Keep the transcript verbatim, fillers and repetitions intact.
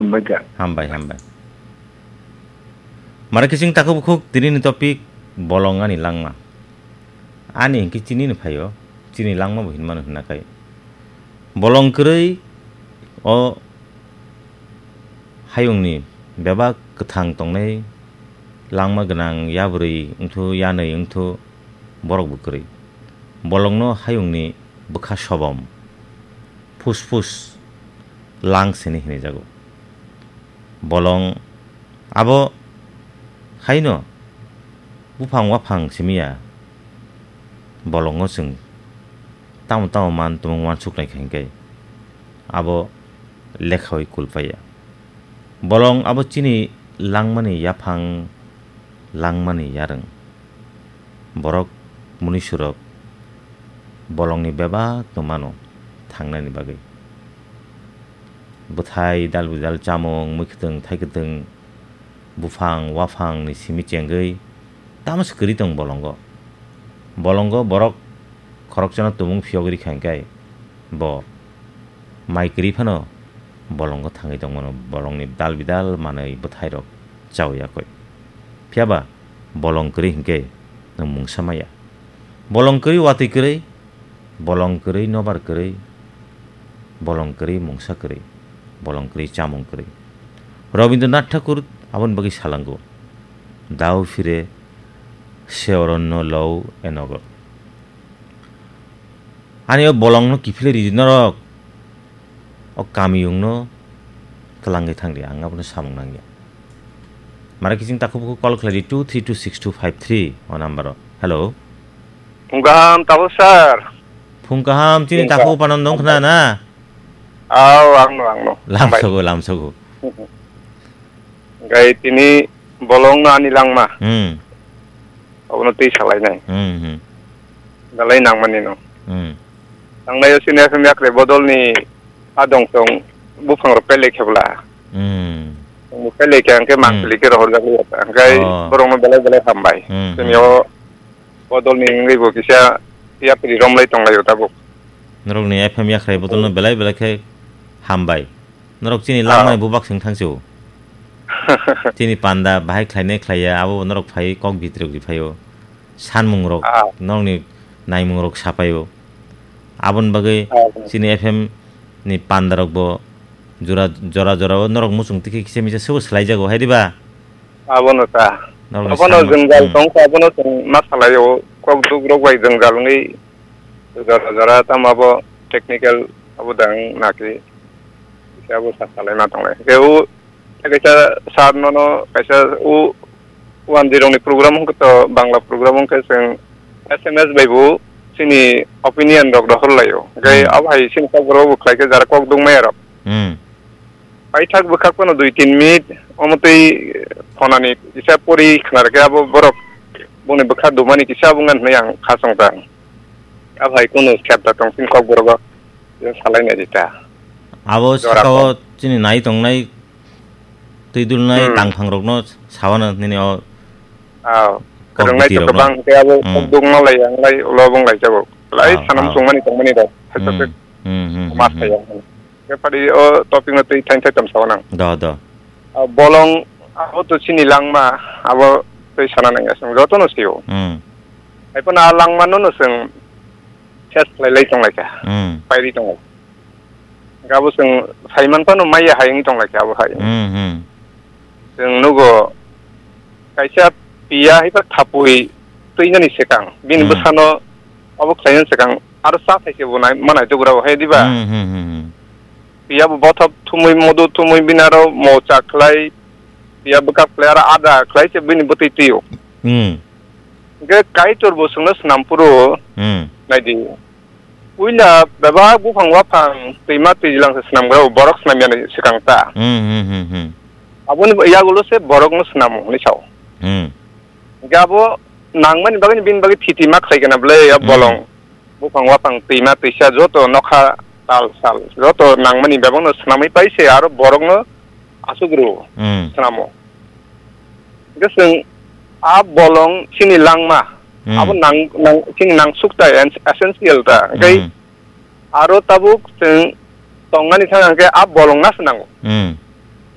Hambai kha. Hambai, hambai. Mara kiching takhuk bukhuk tini ni topic bolong ani langma. Ani hingke chini ni phaio, chini langma bo hinmano hinna khai. Bolong kwrwi o hayungni bebak kwthang tongnai langma gwnang yabrwi wngthu yanwi wngthu borok bo kwrwi. Bolongno hayungni bwkha sobom, phus phus lang sini hinwi jago. Bolong abo haino buphang waphang simi ya, bolongo chwng tamo tamo man tumung wansuknai kha hingke abo lekhaui kulpaiya. Bolong abo chini langmani yaphang, langmani yarwng. Borok, munisurok bolongni bebak no mano thangnani bagwi. Bwthai, dal bidal, chamung, mui kwtwng, thai kwtwng, buphang, waphang ni simi chengwi tamo se kwrwi tong bolongo. Bolongo borok khoroksano tumung phiyogwi rikha hingkhe bo mai kwrwi phano bolongo thangwi tongmano, bolongni dal bidal manwi bwthairok chawi yakwi. Phiyaba bolong kwrwi hingkhe nwng mungsa maya. Bolong kwrwi watwi kwrwi, bolong kwrwi nobar kwrwi, bolong kwrwi mungsa kwrwi, bolong kwrwi chamung kwrwi. Rabindranath Thakur aboni bagwi salango, "Dao phire se oronno lou enogo." Ani o bolongno kiphilwi ridi norok, o kamiyungno twlangwi thangdi, ang abono samung nangya. Mara kiching takhuk bukhuk call khlaidi two three two six two five three o number o. Hello. Phung kaham, tabuk sir. Phung kaham, chini Phung takhuk kaham. Upanandong khna na? Aw, ang no, ang no. Lamsogo, lamsogo. Gai tini bolong no ani langma. Hmm. Abono twi salainai. Hmm, hmm. Dalai nangmani no. Hmm. Tangnai o sini F M yakre bodol ni adong tong buphang rok pelek hebla. Hmm. Tong pelek ke angke Hmm. mangpili ke rohor jak liya. Angke Oh. borong no belai belai hambai. Hmm, Sini hmm. o bodol ni wngwi bo kisa yapri romlai tonglai o tabuk. Norok ni F M yakrai bodol no belai belai khe hambai. Norok chini Ah. langmani bubak swng thangsi o. Chini panda bahai khlainai khlaiya, abo norok phai kok bitrok ri phaio. Sanmung rok, Ah. norokni naimung rok sapaio. Aboni bagwi Ah. chini F M ni panda rok bo jora, jora, jora o norok muchung tikhe kisa misa sebo swlai jago, hai diba? Abono ta. Norokni Abono sanmung, jwngjal hmm. tong kha, abono chwng ma salaio. Kok duk rok bai jwngjal wngwi jora, jora tamo abo technical abo dang naki. Kisa abo sa salai ma tonglai. Khe o Kaisa sir nono kaisa o one zero ni program hwnkhe to Bangla program hwnkhe chwng S M S bai bo chini opinion rok rohor laio. Hwnkhe Hmm. abo hai chini kok borok bo khlai khe jara kok duk maya rok. Hmm. Paithak bwkhak phano dui tin minute omo twi phonani kisa pori khna rwkhe abo borok boni bwkha dumani kisa abo wngkha hwnwi ang kha chong kha. Abo hai kunu kher da tong chini kok borok o salai nai di ta. Abo Jora saka o kok. Chini nai tongnai Twi dulnai Hmm. tangphang rokno sawana nini o Aw. kok Kwrwngnai biti to rokno. Kwbang khe abo Hmm. kok duk ma lai yang lai ulo bung lai jabo. Lai Aw, sanam aw. Chungmani tongmani rok. Hai Hmm. to Hmm, hmm, hmm, mas hmm. Khe padi o topic no twi thain thai tam sawana. Do, do. Aw, bolong abo to chini langma abo twi sana nang asung joto no sio. Hmm. Hai phano a langma no no sung ses lai lai tong lai kha. Hmm. Pairi tong lai. Gabo chwng saiman phano maya hai wngwi tong lai kha abo hai. Hmm, hmm. Chwng nugo kaisa piya hai ba thapui twinani swkang bini Hmm. bwsano obo khlainani swkang aro cha thai se bo nai, ma nai tugra bo hai diba? Hmm, hmm, hmm, hmm. Piya bo bothop thumui modo thumui bini aro mo cha khlai piya bwkak khlai aro ada khlai se bini bwtwi twio. Hmm. Hwnkhe Kaitor bo chwngno swnam phuru Hmm. naidi. Puila bebak buphang waphang twima twijlang se swnamgrao, borok swnamyani swkang ta. Hmm, hmm, hmm, hmm. Aboni yagulo se borokno swnamo hwnwi sao. Hmm. Hwnkhe abo nangmani bagwi bini bagwi thiti ma khlai kena bwle, ya Hmm. bolong. Buphang waphang twima twisa joto nokha tal sal joto nangmani bebakno swnamwi pai se aro borokno asugru Hmm. swnamo. Hwnkhe chwng a bolong chini langma, Hmm. abo nang, nang, chini nangsuk ta, ens-, essential ta. Hwnkhe Hmm. aro tabuk chwng tongnani thang hwnkhe a bolong na se nango. Hmm.